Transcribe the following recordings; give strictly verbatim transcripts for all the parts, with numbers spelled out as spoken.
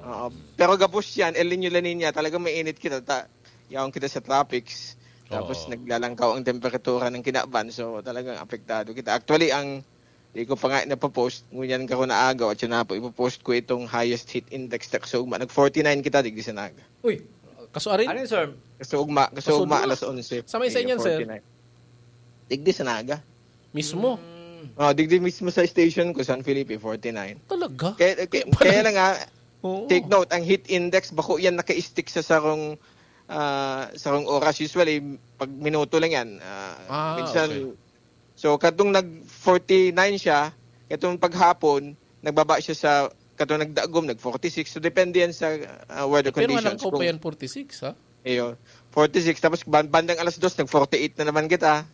Oo. Pero gabos yan, El Nino, La Nina, talagang mainit kita. Ta, yaon kita sa tropics. Tapos Oo. naglalangkaw ang temperatura ng kinaban. So, talagang apektado kita. Actually, ang di ko pa nga napopost, ngunyan ka ko naagaw at yun na po, ipopost ko itong highest heat index na kaso ugma. Nag forty-nine kita, digdi sa Naga. Uy, kaso arin? Ano yun, sir? Kaso ugma, kaso ugma, alas onse. Sa may sa inyan, sir? Digdi sa Naga. Mismo? Oh, digdi mismo sa station ko, San Felipe, forty-nine. Talaga? Kaya, kaya, kaya lang nga, Oo. take note, ang heat index, bako yan naka-stick sa sarong, ah, sarong oras. Usually, pag minuto lang yan. Ah, Ah, minsan, okay. So, katong nag forty-nine siya, katong paghapon, nagbaba siya sa, katong nagdagom, nag forty-six. So, depende yan sa ah, weather Pero conditions. Walang ko pa yan forty-six, ha? Iyo, forty-six. Tapos, ban- bandang alas dos, nag forty-eight na naman kita.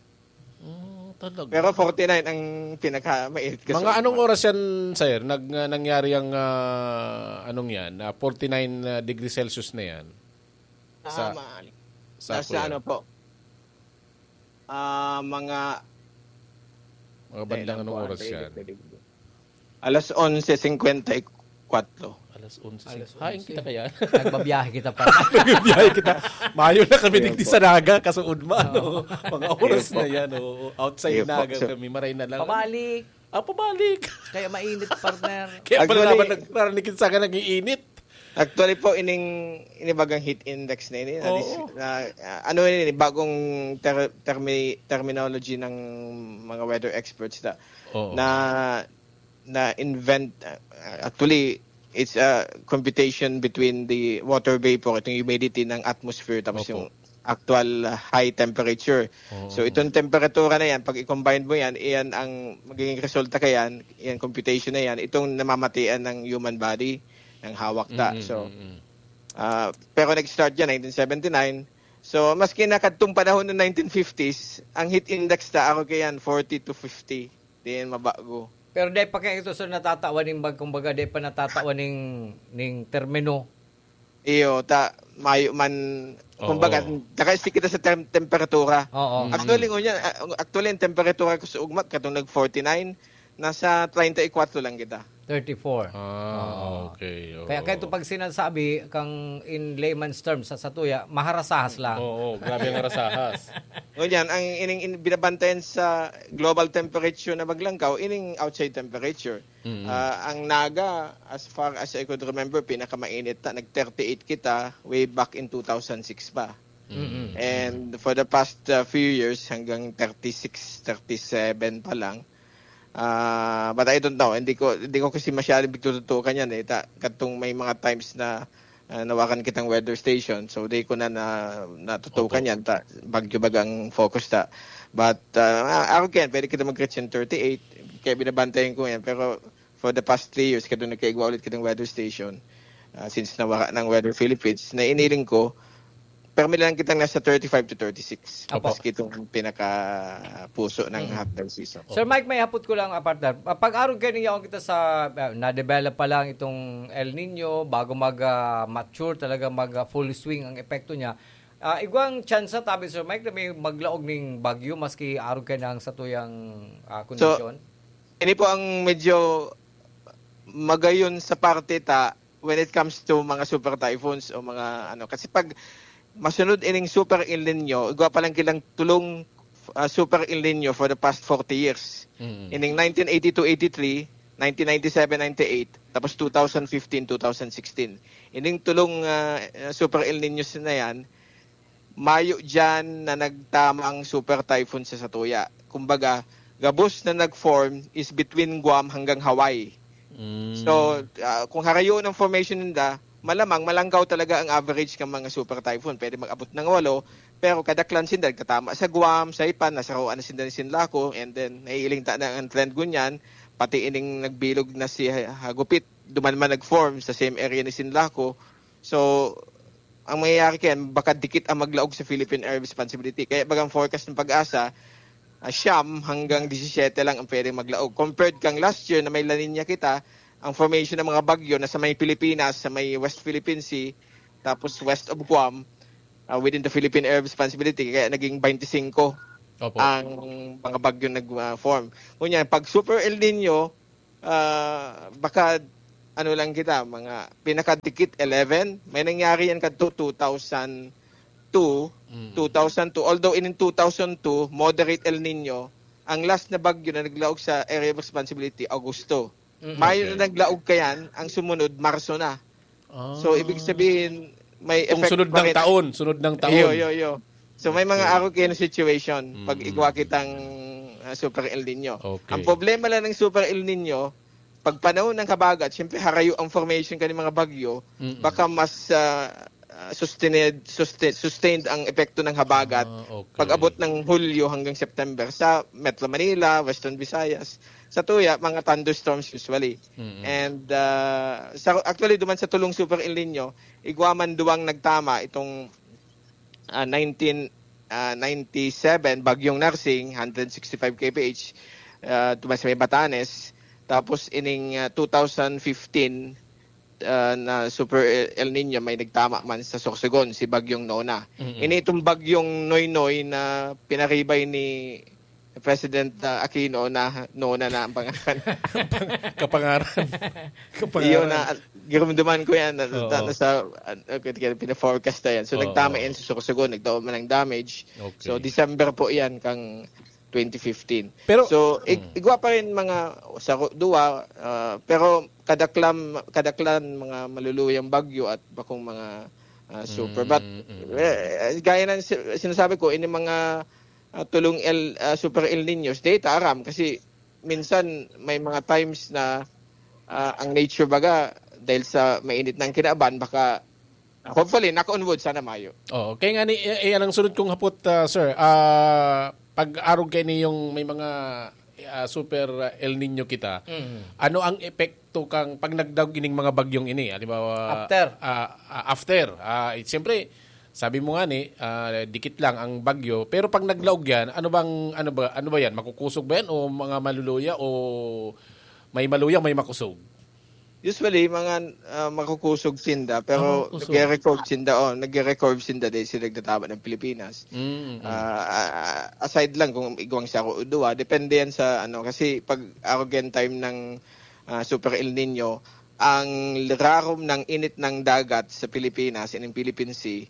Oh, talaga. Pero forty-nine ang pinaka-mainit kasi. Mga anong oras yan, sir? Nag, uh, nangyari ang uh, anong yan? Uh, forty-nine uh, degrees Celsius na yan? Sa, ah, sa, sa ano po? Ah, uh, mga mga bandang anong oras yan? Alas onse cincuenta y cuatro. Alas onse. Alas onse. Hain kita kaya? Nagbabiyahe kita pa. Nagbabiyahe kita. Mayo na kami digdi sa Naga, kasuod man. Oh. Mga oras na yan. Oh. Outside Naga kami, maray na lang. Pabalik. Ah, pabalik. Kaya mainit, partner. Kaya pala naman narinig sa akin nag-iinit. Actually po, ining inibagang heat index na ini, na, na, ano ini, bagong ter, termi, terminology ng mga weather experts na, Oo. na na-invent, uh, actually, it's a computation between the water vapor, itong humidity ng atmosphere, tapos Opo. yung actual uh, high temperature. Oo. So, itong temperatura na yan, pag i-combine mo yan, iyan ang magiging resulta kayan, iyan computation na yan, itong namamatian ng human body, ng hawak ta. Mm-hmm. So, uh, pero nag-start yan, nineteen seventy-nine. So, maski nakadtong panahon ng nineteen fifties, ang heat index ta, ako kayan, forty to fifty. Di yan mabago. Pero dai pa kaya ito, sir, natatawan ning bag-, kumbaga, dai pa natatawan ning, ning termino. Iyo, ta, mayo man, Oo. kumbaga, naka-stick kita sa tem- temperatura. Oo. Mm. Actually, ngunyan, ah, actually, ang temperatura ko sa ugma, katong nag forty-nine, nasa treinta y cuatro lang kita. Thirty-four. Ah, Oo. okay. Oo. Kaya, kaya ito pag sinasabi, kang in layman's terms, sa satuya, maharasahas lang. Oo, grabe ang harasahas. Ngunyan, ang ining in, binabantayan sa global temperature na maglangkaw, ining outside temperature. Mm. Ah, ang Naga, as far as I could remember, pinakamainit na, nag thirty-eight kita way back in two thousand six pa. Mm-hmm. And for the past uh, few years, hanggang thirty-six, thirty-seven pa lang. Ah, but I don't know. Hindi ko hindi ko kasi masyadong pagtututukan yan eh. Ta, katong may mga times na ah, nawakan kitang weather station. So, di ko na, na natutukan Opo. yan. Ta, bagyo bagang focus ta. But, ah, ako ken, pwede kita mag-reach yung thirty-eight. Kaya binabantayan ko yan. Pero for the past three years, kadto nagkaigwa ulit kitang weather station. Ah, since nawaka ng Weather Philippines, nainiling ko, permi lang kitang nasa thirty-five to thirty-six. Apo. Maski itong pinaka puso ng Mm. hot dog season. Sir Mike, may hapot ko lang, ah, partner. Ah, pag-arog kayo niya kita sa, ah, na-develop pa lang itong El Nino, bago mag, ah, mature, talaga mag, ah, full swing ang epekto niya. Ah, igwang tsansa, tabi, Sir Mike, na may maglaog ning bagyo, maski arog kayo ng satuyang, ah, So, kondisyon? Ini po ang medyo magayon sa parte ta, when it comes to mga super typhoons o mga ano. Kasi pag masunod ining super El Nino, igwa pa lang kilang tulong ah, super El Nino for the past forty years. Mm. Ining nineteen eighty-two eighty-three, nineteen ninety-seven ninety-eight, tapos two thousand fifteen, two thousand sixteen. Ining tulong ah, super El Ninos na yan, mayo dyan na nagtamang super typhoon sa satuya. Kumbaga, gabos na nag-form is between Guam hanggang Hawaii. Mm. So, ah, kung harayo ng formation ninda, malamang malangkaw talaga ang average ng mga super typhoon. Pwede mag-abot ng walo, pero kadaklan sinda nagtatama sa Guam, Saipan, nasaroan na sinda ni Sinlaco, and then naiiling ta na ang trend ngunyan, pati ining nagbilog na si Ha-, Hagupit, duman man nag-form sa same area ni Sinlaco. So, ang mangyayari kayan, baka dikit ang maglaog sa Philippine Area of Responsibility. Kaya bagang forecast ng PAGASA, ah, siyam hanggang disisiyete lang ang pwedeng maglaog. Compared kang last year na may La Nina kita, ang formation ng mga bagyo na sa may Pilipinas, sa may West Philippine Sea, tapos west of Guam, ah, within the Philippine Area of Responsibility, kaya naging twenty-five Opo. ang mga bagyo nag-form. Ngunyan, pag super El Nino, ah, baka ano lang kita, mga pinakadikit, eleven. May nangyari yan kadto two thousand two, Mm. two thousand two. Although in two thousand two, moderate El Nino, ang last na bagyo na naglaog sa area of responsibility, Agosto. Mm. Mayo Okay. na naglaog kayan, ang sumunod, Marso na. Ah. So, ibig sabihin, may Kung effect sunod pa ng rin. taon, sunod ng taon. Iyo, iyo, iyo. So, may mga Okay. arog kayo na situation pag Mm. igwa kitang ah, Super El Nino. Okay. Ang problema lang ng Super El Nino, pag panahon ng habagat, siyempre harayo ang formation kan mga bagyo, Mm-mm. baka mas ah, ah, sustained, sustain- sustained ang epekto ng habagat Ah, okay. pag-abot ng Hulyo hanggang September sa Metro Manila, Western Visayas. Sa tuya, mga thunderstorms usually. Mm-mm. And ah, sa, actually, duman sa tulong Super El Nino, igwa man duwang nagtama itong ah, nineteen ah, ninety-seven, Bagyong Narsing, one hundred sixty-five K P H, ah, duman sa may Batanes. Tapos ining ah, two thousand fifteen ah, na Super El Nino, may nagtama man sa Sorsogon, si Bagyong Nona. Mm-mm. Ini itong Bagyong Noynoy na pinaribay ni President ah, Aquino na Nona na ang pangalan. Kapangaran. Kapangaran. Iyo na, girumduman ko yan. Na, Oo. na, nasa, uh, pina-forecast na yan. So, Oo. nagtama yan sa Sorsogon. Nagtao man ng damage. Okay. So, December po yan kang twenty fifteen. Pero- so, ig- Mm. igwa pa rin mga sa duwa, ah, pero kadaklan, kadaklan mga maluluyang bagyo at bakong mga ah, super. But, Mm, mm. eh, gaya ng si- sinasabi ko, ini mga ah, tulong El, ah, Super El Niños, di ta aram kasi minsan may mga times na ah, ang nature baga, dahil sa mainit ng kinaban, baka, hopefully, knock on wood, sana mayo. Oo, kaya nga ni eh, eh, anong sunod kong hapot, ah, sir? Ah, pag-arog kayo niyong may mga ah, super ah, El Nino kita, Mm. ano ang epekto kang pag nagdaog ining mga bagyong ini? Halimbawa, After. ah, ah, after. Ah, eh, siyempre, sabi mo nga ni, ah, dikit lang ang bagyo, pero pag naglaog yan, ano bang ano ba ano ba yan? Makukusog ba yan o mga maluluya o may maluya, may makusog? Usually, mga ah, makukusog sinda, pero Ah, makukusog. nagre-record sinda, oh, nagre-record sinda dahil sila nagtatama ng Pilipinas. Mm, mm. Ah, ah, aside lang kung igwang siya o duwa, depende yan sa ano, kasi pag arrogant time ng ah, Super El Nino, ang rarom ng init ng dagat sa Pilipinas, in Philippine Sea,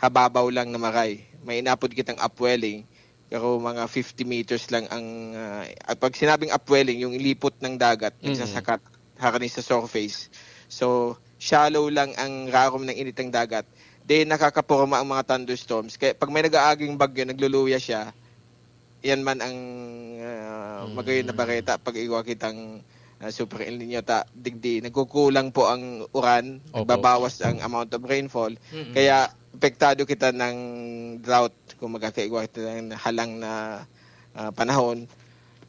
hababaw lang na maray. May inapod kitang upwelling, pero mga fifty meters lang ang, ah, at pag sinabing upwelling, yung lipot ng dagat, Mm. nagsasakat, harani sa surface. So, shallow lang ang rarom ng init ng dagat. Then, nakakaporma ang mga thunderstorms. Kaya pag may nag-aaging bagyo, nagluluya siya, yan man ang ah, magayon na bareta pag igwa kitang ah, Super El Nino ta digdi nagkukulang po ang uran, Opo. nagbabawas ang amount of rainfall, Mm-mm. kaya apektado kita ng drought kung magkakaigwa kita ng halang na ah, panahon.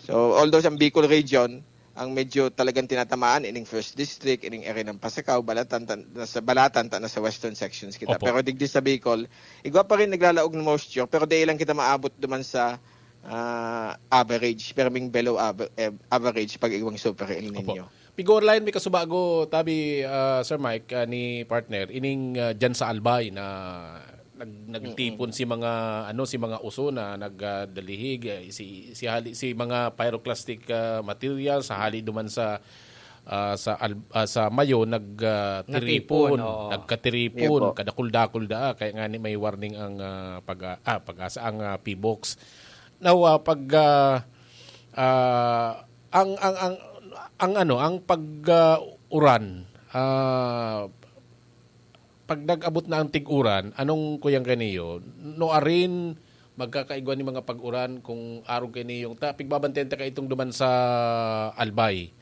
So, although sa Bicol region, ang medyo talagang tinatamaan ining First District, ining area ng Pasacao, Balatan, tan- nasa Balatan, ta nasa western sections kita. Opo. Pero digdi sa Bicol, igwa pa rin naglalaog ng moisture, pero di lang kita maabot duman sa ah, average, pero ming below aver- eh, average pag igwang Super El Opo. Nino. Pigor line, may kasubago, tabi, ah, Sir Mike, ah, ni partner, ining ah, dyan sa Albay na nag, nagtipon si mga ano si mga uso na nagdalihig eh, si si hali si mga pyroclastic ah, material sa hali duman sa ah, sa Al- ah, sa Mayo nag ah, tiripon, Natipon, oo. nagkatiripon, Yun po. kadakul-dakul da kaya nga ni may warning ang ah, pag ah, pag-asa ang ah, P box. Now ah, pag ah, ah, ang ang ang ang ano ang pag ah, uran ah, pag nag-abot na ang tig-uran, anong kuyang kaniyo? Nuarin, magkakaigwa ni mga pag-uran kung arog kaniyo. Ta, pigbabantayan ta kaitong duman sa Albay.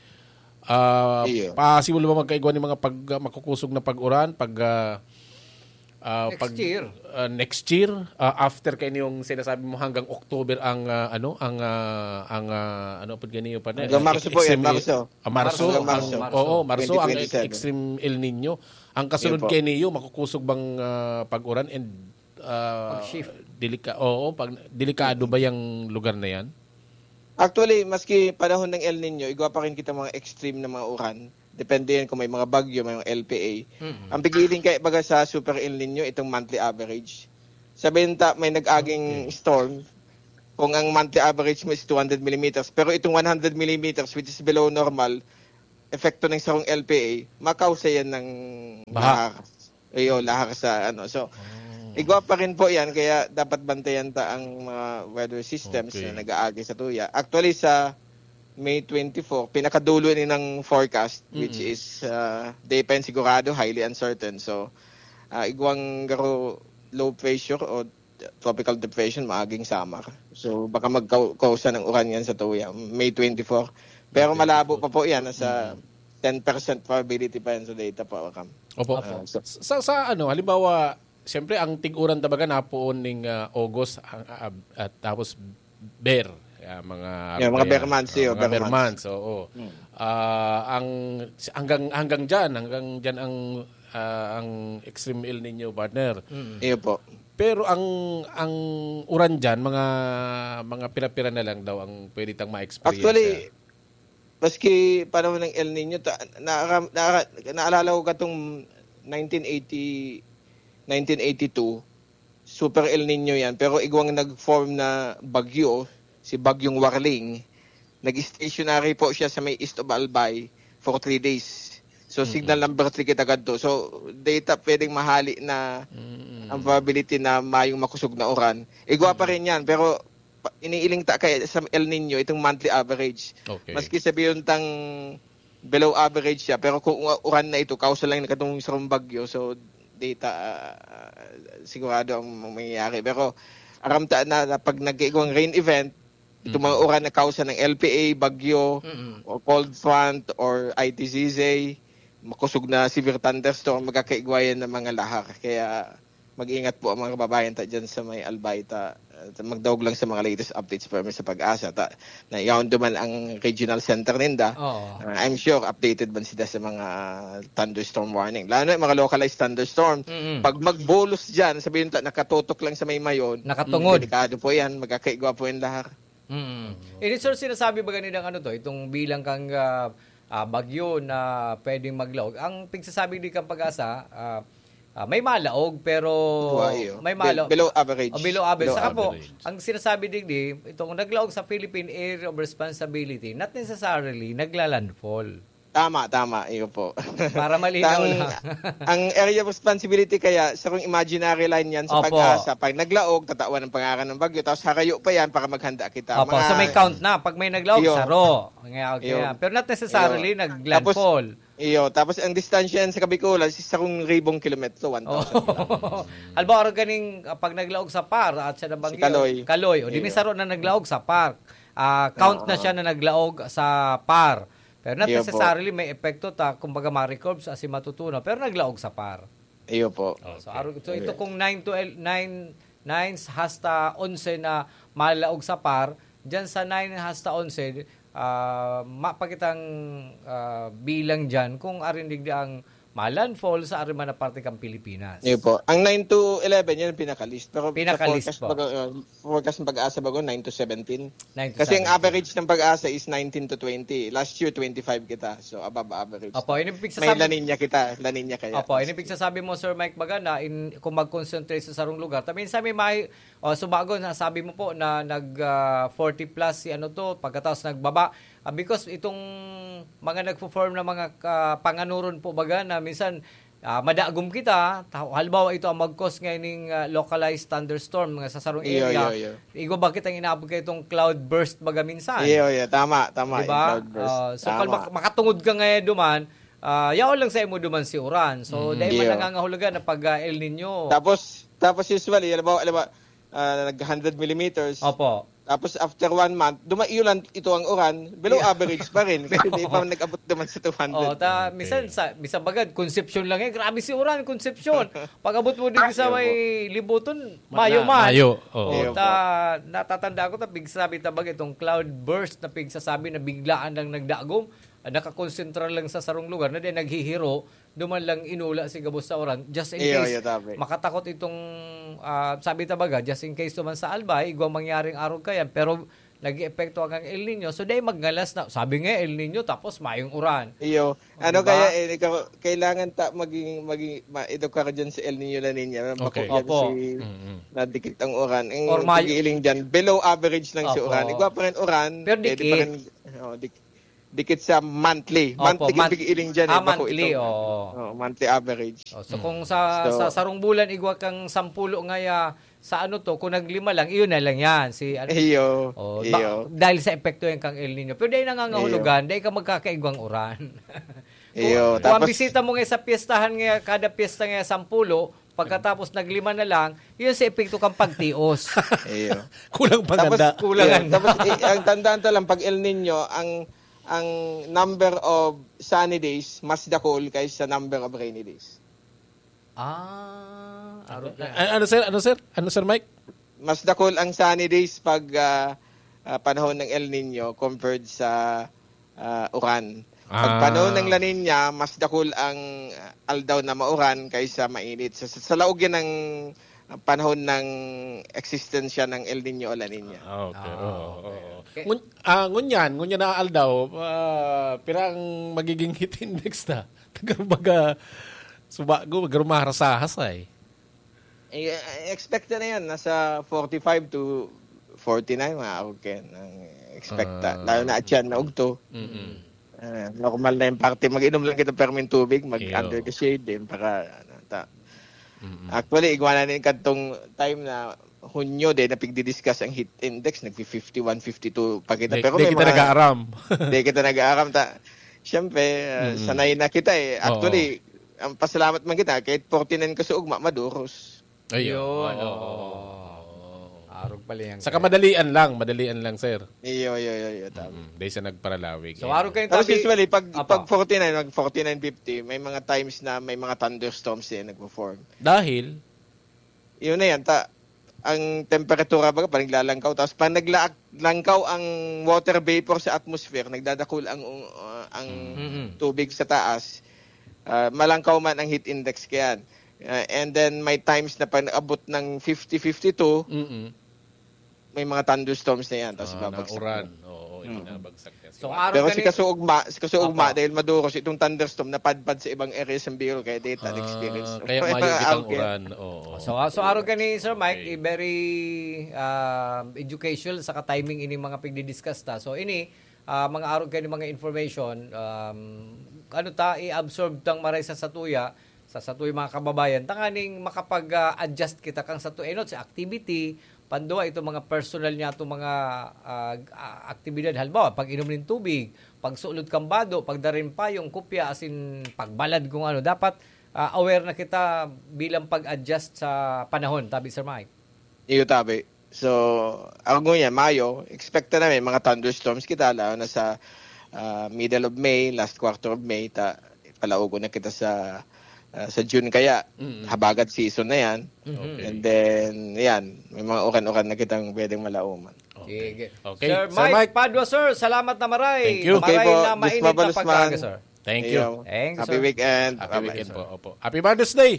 Ah, Iyo. possible ba magkaigwa ni mga pag, makukusog na pag-uran pag ah, ah, Next pag, year. ah, next year, ah, after kayo yung sinasabi mo hanggang October ang ah, ano ang ah, ang ah, ano pud ganiyo pa na Hanggang Marso po yan, extreme- Marso. Ah, Marso, Hanggang ang- Marso. Oo, Marso ang twenty twenty-seven. extreme El Nino. Ang kasunod Yun po. kay niyo makukusog bang ah, pag-uran and ah, Pag-shift. delika oo, pag delikado ba yung lugar na yan? Actually, maski panahon ng El Nino, igwa pa rin kita mga extreme na mga uran. Depende yan kung may mga bagyo, may mga L P A. Mm. Ang pigiling kaya baga sa Super El Nino, itong monthly average. Sabihin ta, may nag-aging storm, kung ang monthly average mo is two hundred millimeters, pero itong one hundred millimeters, which is below normal, epekto ng sarong L P A, makausa yan ng Baha. lahar. Iyo, lahar sa ano. So, igwa pa rin po yan, kaya dapat bantayan ta ang mga weather systems Okay. na nag-aagi sa tuya. Actually, sa May twenty-four, pinakadulo ni ng forecast, which Mm. is uh, di pa yan sigurado, highly uncertain. So, uh, igwang garo low pressure o tropical depression, maaging summer. So, baka magkausa ng uran yan sa tuya, May twenty-four. Pero May malabo twenty-four. pa po yan, nasa ten percent probability pa yan sa data po, Cam. Opo. Ah, so- sa, sa ano, halimbawa, siyempre, ang tig-uran tabaga napoon ning ah, August ang, ah, at tapos Ber, ah, mga Yeah, mga Ber, Ber months, ah, yeah, mga Ber Ber months. months, oo. Ah, ang hanggang hanggang diyan, hanggang diyan ang ah, ang extreme El Nino, partner. Iyo po. Pero ang ang uran diyan, mga mga pira-pira na lang daw ang pwede tang ma-experience. Actually, maski panahon ng El Nino, ta, na, na, naalala ko katong nineteen eighty, nineteen eighty-two, super El Nino yan. Pero igwang nag-form na bagyo, si Bagyong Warling, nag-stationary po siya sa may east of Albay for three days. So, signal number three kita kadto. So, data pwedeng mahali na ang probability na mayong makusog na uran. Igwa pa rin yan, pero pa- iniiling ta kay sa El Nino itong monthly average. Okay. Maski sabihin tang below average siya, pero kung u- uran na ito, kausa lang na katong sarong bagyo, so data ah, sigurado ang mangyayari. Pero aram ta na, na pag nag-iigwang rain event, itong mga uran na kausa ng L P A, bagyo, o cold front, or I T Z Z, makusog na severe thunderstorm, magkakaigwayan ng mga lahar. Kaya mag-ingat po ang mga kababayan ta dyan sa may Albay ta. At magdaog lang sa mga latest updates pa sa pag-asa ta. Na yaon duman ang regional center ninda. Oo. Uh, I'm sure updated man sila sa mga thunderstorm warning. Lalo na yung mga localized thunderstorm. Mm-mm. Pag magbulos dyan, sabihin ta, nakatutok lang sa may mayon. Nakatungod. Delikado po yan. Magkakaigwa po yung lahar. Mm. Ini, sir, sinasabi ba ganidang ano to, itong bilang kang ah, ah, bagyo na pwedeng maglaog? Ang pigsasabi di kang pag-asa, ah, ah, may malaog, pero Buhay, oh. may Bel- malaog. below average. O, below average. Below Saka po, average. Ang sinasabi digdi, itong naglaog sa Philippine Area of Responsibility, not necessarily nagla-landfall. Tama, tama. Iyo po. Para malinaw ang, lang. ang area of responsibility kaya, sa kung imaginary line yan sa Opo. pag-asa, pag naglaog, tatawan ng pangaran ng bagyo, tapos harayo pa yan para maghanda kita. Opo, Mga- so may count na. Pag may naglaog, Iyo. saro. Kaya, kaya. Iyo. Pero not necessarily Iyo. nag-landfall. Iyo, tapos ang distansya yan sa Kabikulan, sa sarong ribong kilometro, one thousand kilometers. Halimbawa, ganing ah, pag naglaog sa par at sa nabanggi, Si Kaloy. Kaloy, o di Iyo. may saro na naglaog sa par. Ah, count na Oo. siya na naglaog sa par. Pero not Iyo po. Necessarily may epekto ta, kumbaga ma-record sa si matutunaw, pero naglaog sa par. Iyo po. Oh, so, aro, so ito kung nine to el- nine, nine hasta onse na malaog sa par, diyan sa nine hasta onse, ah, mapakitang ah, bilang diyan kung arin digdi ang malandfall sa arin man na parte kang Pilipinas. Iyo po. Ang nine to eleven, yan ang pinaka-least. Pero Pinaka-least sa forecast, po. baga, uh, forecast ng pag-asa bago, nine to seventeen. Nine to Kasi ang seventeen. Average ng pag-asa is nineteen to twenty. Last year, twenty-five kita. So, above average. Opo, yun yung May pigsasabi- La Nina kita. La Nina kaya. Opo, yun yung pigsasabi mo, Sir Mike, baga na in, kung mag-concentrate sa sarong lugar. Ta minsan may may, o, subago, nasabi mo po na nag ah, forty plus si ano to, pagkatapos nagbaba. Ah, because itong mga nagfo-form na mga ka- panganuron po baga na minsan ah, madagom kita, ta- halimbawa ito ang mag-cause ngayon ng ah, localized thunderstorm mga sa sarong Iyo, area. iyo, iyo. Igwa ba kitang inaabot kayo itong cloud burst baga minsan? Iyo, iyo. Tama, tama. Diba? Yung cloudburst. Ah, so, Tama. pag mak- makatungod ka ngayon duman, ah, yaon lang sa imo duman si uran. So, dahil man Iyo. nangangahulugan na pag ah, El Nino. Tapos, tapos usually, alam mo, alam mo, ah, nag hundred millimeters. Opo. Tapos after one month, dumaiulan ito ang uran, below average pa rin. Kasi di pa nag-abot naman sa two hundred. Oh, ta, minsan sa minsan bagad, Concepcion lang eh. Grabe si uran, Concepcion. Pag-abot mo dito sa Mayo may po. Libuton, Ma- Mayo man. Mayo, oo. Oh, Mayo ta, natatanda ko ta pigsabi ta bagay itong cloud burst na pigsasabi na biglaan lang nagdagom, ah, nakakonsentra lang sa sarong lugar na di naghihiro, duman lang inula si gabos sa uran. Just in Iyo, case, iyo, tabi. makatakot itong, ah, sabi ta baga, just in case duman sa Albay, igwa mangyaring arog kayan, pero nag-eepekto ang El Nino. So, dahil magngalas na, sabi nga El Nino, tapos mayong uran. Iyo. Ano Diba? kaya eh, ikaw, kailangan ta maging maging ma-edukar diyan sa El Nino La Nina. Bakit Okay. yan Opo. si Mm-mm. nadikit ang uran? Ang Or may- pagiiling diyan, below average lang si Opo. uran. Igwa pa rin uran. Pero pwede dikit. Pa rin, oh, dik- Dikit sa monthly. Opo, Monthly month- kipig-iling dyan. ah, Eh. Bako monthly, itong, oo. Oh, monthly average. Oh, so kung sa So- sa sarong bulan, igwa kang sampulo ngaya sa ano to, kung naglima lang, iyon na lang yan. Si ano, Iyo. oh, iyo. ba- dahil sa epekto yan kang El Nino. Pero dahil nangangahulugan, dahil ka magkakaigwang uran. Iyo. Kung ang Tapos, bisita mo nga sa piyestahan nga, kada piyesta nga sampulo, pagkatapos naglima na lang, yun sa epekto kang pagtios. iyo. Kulang pang Tapos, handa. Kulang yeah, ang- tapos i- ang tandaan ta lang, pag El Nino, ang ang number of sunny days mas dakul kaysa number of rainy days. Ah, arog na. A- ano sir? Ano sir? Ano sir Mike? Mas dakul ang sunny days pag ah, ah, panahon ng El Nino compared sa ah, uran. Pag Ah. panahon ng La Nina, mas dakul ang ah, aldaw na mauran kaysa mainit. Sa, sa, sa laog yan ng ah, panahon ng existensya ng El Nino o La Nina. Ah, okay. Ah, Oo, okay. oo. Okay. Ngun, ah, ngunyan, ngunyan na aldaw, ah, pirang magiging heat index na. Taga baga, subago, magrumaharasahas ay. Eh, expect na yan, nasa forty-five to forty-nine, mga ako, Ken, ang expect. Ah. Lalo na atyan na ugto. Mm-mm. Ah, normal na yung parte. Mag-inom lang kita permin tubig, mag Iyo. under the shade din para ano, ta. Mm-mm. Actually, igwa na nin kadtong time na Hunyo din na pigdi-discuss ang heat index, nagfi fifty-one, fifty-two pa kita. Di, Pero di may kita mga nag-aaram. Di kita nag-aaram ta. Siyempre, ah, Mm. sanay na kita eh. Oo. Actually, ang pasalamat man kita, kahit forty-nine ka sa ugma, maduros. Ayun. Yun, Oo, oo. oo. Arog pala yan. Saka madalian lang, madalian lang, sir. Iyo, iyo, iyo, iyo, tama. Mm, dahil sa nagparalawig. So, arog kayo Tapos tabi- usually, pag, Apo. pag forty-nine, mag forty-nine fifty, may mga times na may mga thunderstorms eh, nagpo-form. Dahil, Yun na yan, ta, ang temperatura baga, parang naglalangkaw. Tapos pag naglalangkaw ang water vapor sa atmosphere, nagdadakul ang, uh, ang Mm-mm. tubig sa taas, uh, malangkaw man ang heat index kayan. Uh, and then may times na pag abot ng fifty, fifty-two, mm may mga thunderstorms na yan. Tapos ah, babagsak. nauran. Na. Oo, Hmm. nabagsak na. So, arog Pero ka si ni- Kasuugma, si Kasuugma, Apo. dahil maduros itong thunderstorm, napadpad sa ibang area sa Bicol, kaya data Ah, experience. kaya mayo kitang Okay. uran. Oo. So, ah, so arog ka ni Sir Mike, Okay. i- very ah, educational sa timing ini mga pigdi-discuss ta. So, ini, ah, mga arog kayo mga information, um, ano ta, i-absorb tang maray sa satuya, sa satuya mga kababayan, tanganing makapag-adjust kita kang satuya, inot, sa activity, pandua, itong mga personal niya, itong mga ah, ah, aktibidad, halimbawa, pag-inom ng tubig, pagsulod kang bado, pagdaring payong, kopya, asin pagbalad kung ano. Dapat ah, aware na kita bilang pag-adjust sa panahon, tabi, Sir Mike. Iyo, tabi. So, ako ngunyan, Mayo, expect na may mga thunderstorms kita, lalo na sa ah, middle of May, last quarter of May, ta, palaogon na kita sa ah, sa June kaya, Mm. habagat season na yan. Mhm. Okay. And then, yan, may mga uran-uran na kitang pwedeng malauman. Sige. Okay. Sir, Sir Mike, Mike. Padua, sir, salamat na maray. Thank you. Maray Okay po, na Diyos mainit na mabalos pag-aga, man. Sir. Thank you. Iyo. Thanks, Happy sir. weekend. Happy Bye-bye. weekend po. Opo. Happy Mother's Day!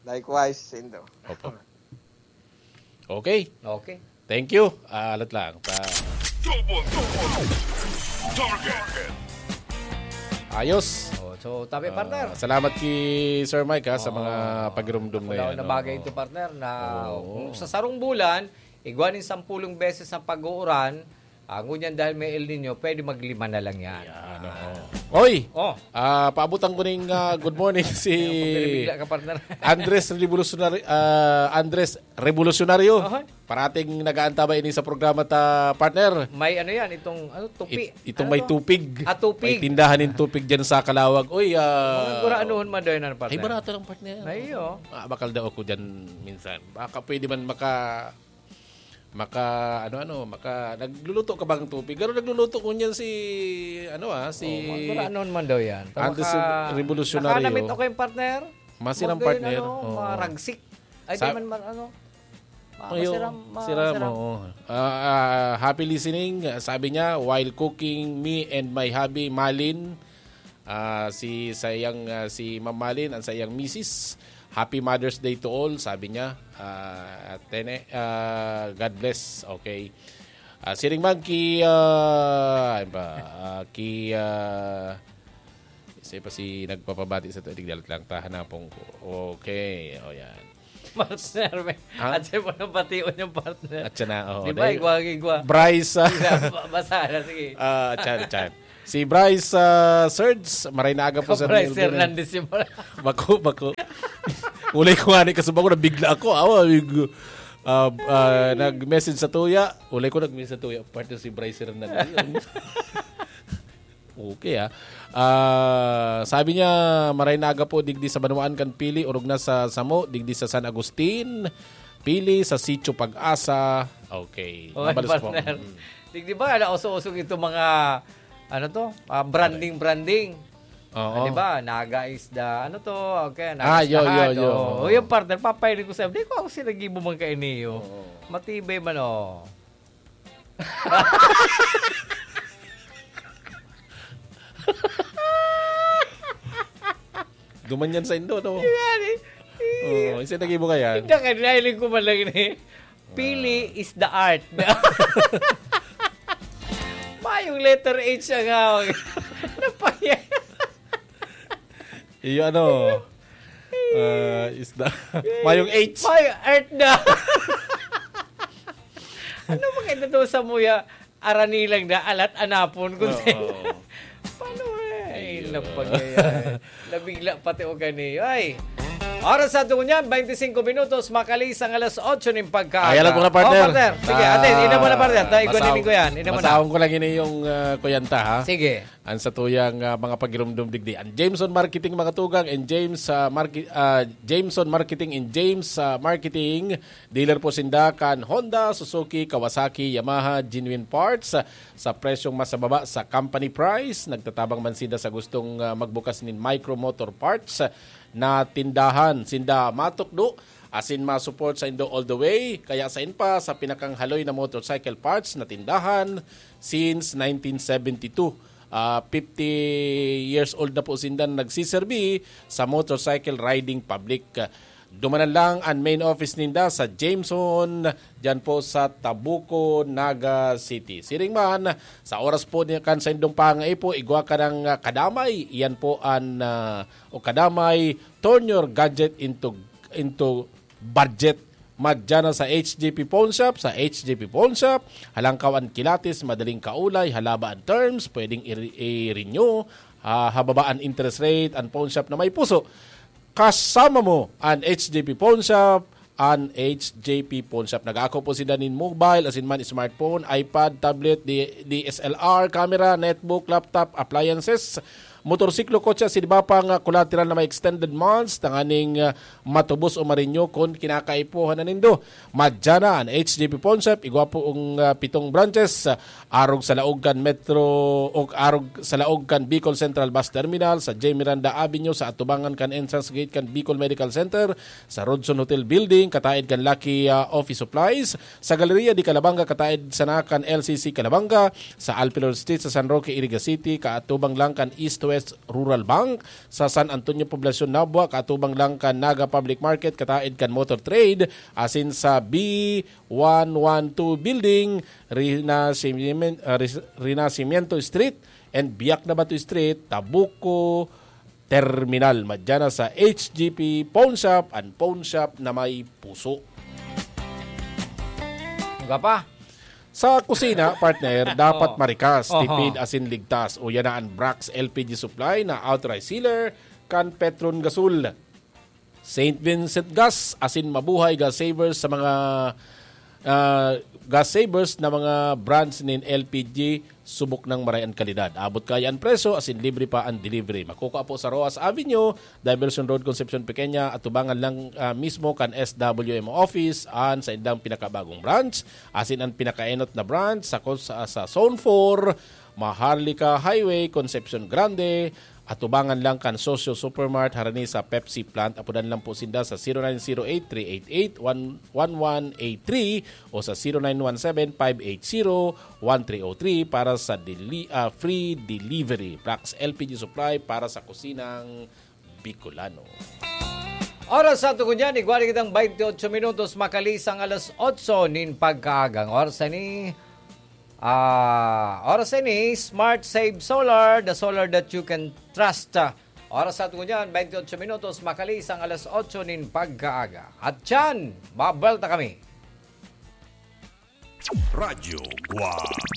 Likewise, Indo. Opo. Okay. Okay. Thank you. Ah, alat lang. Pa- Double, double. Target. Ayos. Oh, so, tabi, Ah, partner. Salamat ki Sir Mike ha, sa Oo. mga pagirumdom na Wala yan. na bagay Oo. ito, partner, na Oo. kung sa sarong bulan, igwa nin sampulong beses ang pag-uuran, ah, ngunyan dahil may El Nino, pwede maglima na lang yan. Yan, Ah. oo. Oy! Oh, Ah, paabutan ko ning ah, good morning si Bigla ka, partner. Andres Revolutionary, ah, Andres Revolucionario. Aha. Parating nag-aantabay ini sa programa ta, partner. May ano yan, itong ano, tupi. It- itong Ano may to? tupig. Ah, tupig. May tindahan ng tupig dyan sa Kalawag. Uy, ah, Mga guraanuhon man daw yan, partner. Ay, barato lang, partner. Ay, oo. Ah, bakal daw ako dyan minsan. Baka pwede man maka... Maka, ano, ano, maka... Nagluluto ka bang tupig? Pero nagluluto ko niyan si, ano ah, si... Oh, mga guraanuhon man daw yan. Antes Maka- revolutionary, Nakanamit oh. ako yung partner. Masiram, Magkano, partner. Ano, Oo. maragsik. Ay, Sa- di man, man, ano, ma- Ayo, masiram, ma- siram, masiram. Oo. Ah, ah, happy listening, ah, sabi niya, while cooking me and my hubby, Malin. Ah, si sayang, ah, si Ma'am Malin, ang sayang misis. Happy Mother's Day to all, sabi niya. Ah, tene, ah, God bless. Okay. Ah, siring man ki, ah, ano ba? Ah, ki, ah, isa pa si nagpapabati sa tuig, dalat lang, tahanapon ko. Okay, o yan. Partner, may. Ha? At sa mo nang bation yung partner. At siya na, oo, Di ba, dahil- igwa, igwa. Bryce, ah, Basa na, sige. Ah, chan, chan. Si Bryce, ah, Serge, maray na aga po, Sir Bryce Melvin. Hernandez yung pala. Bako, bako. Ulay ko nga ni kasubang ko, nabigla ako. Awa, yung, ah, ah, nag-message sa tuya. Ulay ko nag-message sa tuya. Partner si Bryce Hernandez. Okay, ah. Ah, sabi niya, maray na aga po, digdi sa Banwaan kan Pili, orog na sa Samo, digdi sa San Agustin, Pili, sa Sitio Pag-asa. Okay. Okay, mabalos po. Partner. Mm. Di, di ba, ala, uso-usog ito mga, ano to? Ah, branding, branding. Oo. Ah, di ba? Naga is the, ano to? Okay, Naga Ah, is the yo, yo, heart. Yo. Oo. O, yung partner, papahiling ko sa'yo. Di ko ako sinagibo man kayo niyo. Oo. Matibay man, oh. Duman yan sa Indo, no? Yan, eh. Oo, isa nagibo ka yan. Hindi ka, nahiling ko man lang ini. Pili Ah. is the art. Mayong letter H ang hawak. Napaya. Iyo ano, ah, is the, mayong H. Mayong art na. Ano mga ito sa muya? Arani lang na, alat anapon. Kung Oo. Paano eh? Ay, Iyo. Napagaya. Nabigla pati o gani. Ay! Oras sa ato niyan, twenty-five minutos, makaliis ang alas otso ning pagkaaga. Ay, alam ko na, partner. Oh, partner. Sige, Ah, ate, ina mo na, partner. Tayo, basahon, kunin ko yan. Ina mo na. Basahon ko lang ini yung, ah, kuyanta, ha? Sige. Ang satuyang, ah, mga pagirumdom digdi. Ang Jameson Marketing, mga tugang, and James, ah, Marke-, ah, Jameson Marketing and James, ah, Marketing. Dealer po sinda kan Honda, Suzuki, Kawasaki, Yamaha, genuine parts, ah, sa presyong mas mababa sa company price. Nagtatabang man sinda sa gustong, ah, magbukas nin micro motor parts, ah, na tindahan. Sinda matukdo, asin ma-support sa indo all the way. Kaya sain pa sa pinakang haloy na motorcycle parts na tindahan since nineteen seventy-two. Ah, fifty years old na po sinda na nagsiserbi sa motorcycle riding public. Dumanan lang ang main office ninda sa Jameson, dyan po sa Tabuco, Naga City. Siring man, sa oras po niya kan sa indong pangaipo, igwa ka ng, ah, kadamay. Yan po ang, ah, o kadamay, turn your gadget into, into budget. Madya na sa H J P Pawn Shop. Sa H J P Pawn Shop, halangkaw ang kilatis, madaling kaulay, halaba ang terms, pwedeng i-, i-renew, ah, hababa ang interest rate, ang pawn shop na may puso. Kasama mo an H J P Pawn Shop, an H J P Pawn Shop. Nag-aako po sila nin mobile, asin man smartphone, iPad, tablet, D-, D S L R, camera, netbook, laptop, appliances, motorsiklo, kotse, asin iba pang, ah, collateral na may extended months, tanganing, ah, matubos o marinyo kun kinakaipuhan na nindo. Madya na an H J P Pawn Shop, igwa po ang, ah, pitong branches, ah, arog sa laog kan Metro, o arog sa laog kan Bicol Central Bus Terminal, sa J Miranda Avenue, sa atubangan kan entrance gate kan Bicol Medical Center, sa Rodson Hotel Building, kataed kan Lucky, ah, Office Supplies, sa Galleria de Calabanga, kataed sana kan L C C Calabanga, sa Alpilor Street, sa San Roque, Iriga City, kaatubang lang kan East West Rural Bank, sa San Antonio Poblacion, Nabua, kaatubang lang kan Naga Public Market, kataed kan Motor Trade, asin sa B one one two Building, Renacimiento, ah, Res-, Renacimiento Street, and Biak na Bato Street, Tabuco Terminal. Madya na sa H J P Pawn Shop, an pawn shop na may puso. Nga pa? Sa kusina, partner, dapat Oh. marikas, Oho. tipid, asin ligtas. Uya na an Brax L P G Supply na authorized sealer kan Petron Gasol. Saint Vincent Gas, asin mabuhay gas savers sa mga, ah, gas savers na mga brands nin L P G, subok nang maray an kalidad. Abot kaya an presyo, asin libre pa an delivery. Makukua po sa Roxas Avenue, Diversion Road, Concepcion Pequeña, atubangan lang, ah, mismo kan S W M office, an saindang pinakabagong branch, asin an pinakaenot na branch sa, sa, sa Zone four, Maharlika Highway, Concepcion Grande, atubangan lang kan Socio Supermart, harani sa Pepsi plant. Apodan lang po sinda sa zero nine zero eight three eight eight one one eight three o sa zero nine one seven five eight zero one three oh three para sa deli-, ah, free delivery. Brax L P G Supply para sa kusinang Bicolano. Oras sa tugon yan, igwa na kitang twenty-eight minutos, makaliis ang alas otso nin pagkaagang. Oras na ni, ah, oras na ni Smart Save Solar, the solar that you can trust. Oras sa tugon yan, twenty-eight minutos, makaliis ang alas otso nin pagkaaga. At yan, babalik na kami. Radyo Guwang.